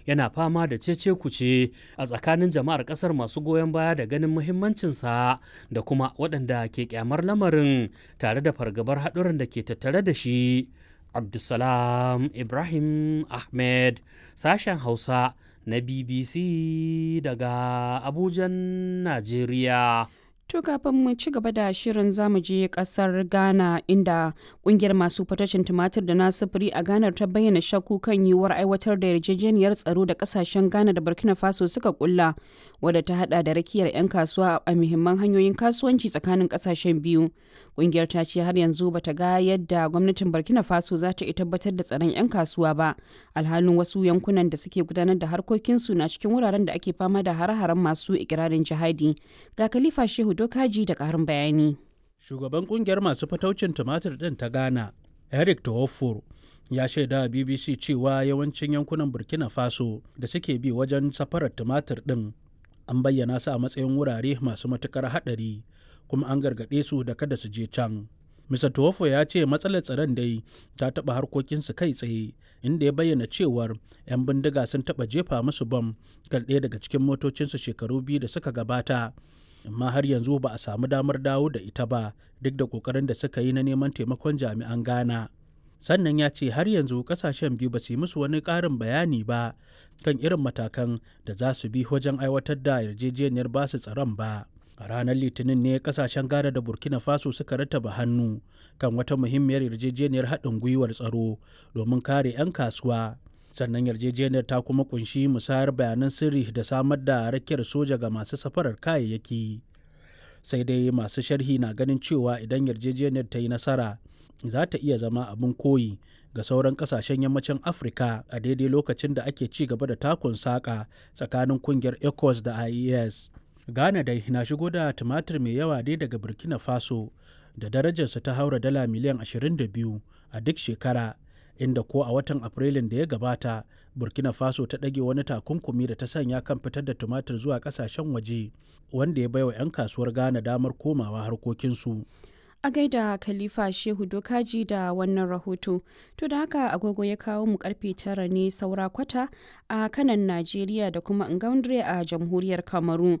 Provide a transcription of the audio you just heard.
yana fama da cece kuce a tsakanin jama'ar kasar masu goyon baya da ganin muhimmancinsa da kuma waɗanda ke kyamar lamarin tare da fargabar haɗuran da ke tattare da shi. Abdulsalam Ibrahim Ahmed, sashen Hausa na BBC daga Abujan, Najeriya. To kafin mu ci gaba da shirin, zamu je kasar Ghana, inda kungiyar masu fatacin tumatir da na sufuri a Ghana ta bayyana shakku kan yiwuwar aiwatar da yarjejeniyar tsaro da kasashen Ghana da Burkina Faso suka kulla, wadda ta hada da rakiyar 'yan kasuwa a muhimman hanyoyin kasuwanci tsakanin kasashen biyu. Kungiyar ta ce har yanzu bata ga yadda gwamnatin Burkina Faso za ta iya tabbatar da tsaron 'yan kasuwa ba, alhalin wasu yankunan da suke gudanar da harkokinsu na cikin wuraren da ake fama da hare-haren masu ikirarin jihadi. Ga Khalifa Shehu Dokaji da ƙarin bayani. Shugaban kungiyar masu fataucin tumatir ɗin ta Ghana, Eric Tohofor, ya shaida wa BBC cewa yawancin yankunan Burkina Faso da suke bi wajen safarar tumatir ɗin an bayyana su a matsayin wurare masu matuƙar haɗari, kuma an gargaɗe su da kada su je can. Mr. Tohofo ya ce matsalar tsaron dai ta taɓa harkokinsu kai tsaye, inda ya bayyana cewar 'yan bindiga sun taɓa jefa musu bam kan ɗaya daga cikin motocinsu shekaru 2 da suka gabata, amma har yanzu ba a samu damar dawo da ita ba duk da kokarin da suka yi na neman taimakon jami'an Ghana. Sannan ya ce har yanzu kasashen biyu ba su yi musu wani ƙarin bayani ba kan irin matakan da za su bi wajen aiwatar da yarjejeniyar basu tsaron ba. A ranar Litinin ne kasashen Ghana da Burkina Faso suka rattaba hannu kan wata muhimmiyar yarjejeniyar haɗin gwiwar tsaro domin kare 'yan kasuwa. Sannan yarjejeniyar ta kuma kunshi musayar bayanan sirri da samar da rakiyar soja ga masu safarar kayayyaki. Sai dai masu sharhi na ganin cewa idan yarjejeniyar ta yi nasara, za ta iya zama abin koyi ga sauran kasashen yammacin Afirka a daidai lokacin da ake ci gaba da takun saƙa tsakanin kungiyar ECOWAS da IES. Ghana dai na shigo da tumatir mai yawa dai daga Burkina Faso da darajarsa ta haura dala miliyan 22 a duk shekara, inda ko a watan Afrilun da ya gabata Burkina Faso ta ɗage wani takunkumi da ta sanya kan fitar da tumatir zuwa ƙasashen waje, wanda ya baiwa 'yan kasuwar Ghana damar komawa harkokinsu. A gaida Khalifa Shehu Dokaji da wannan rahoto. To da haka agogo ya kawo mu karfe 9 ne saura kwata a kanan Najeriya da kuma Ngaundre a jamhuriyar Kamaru.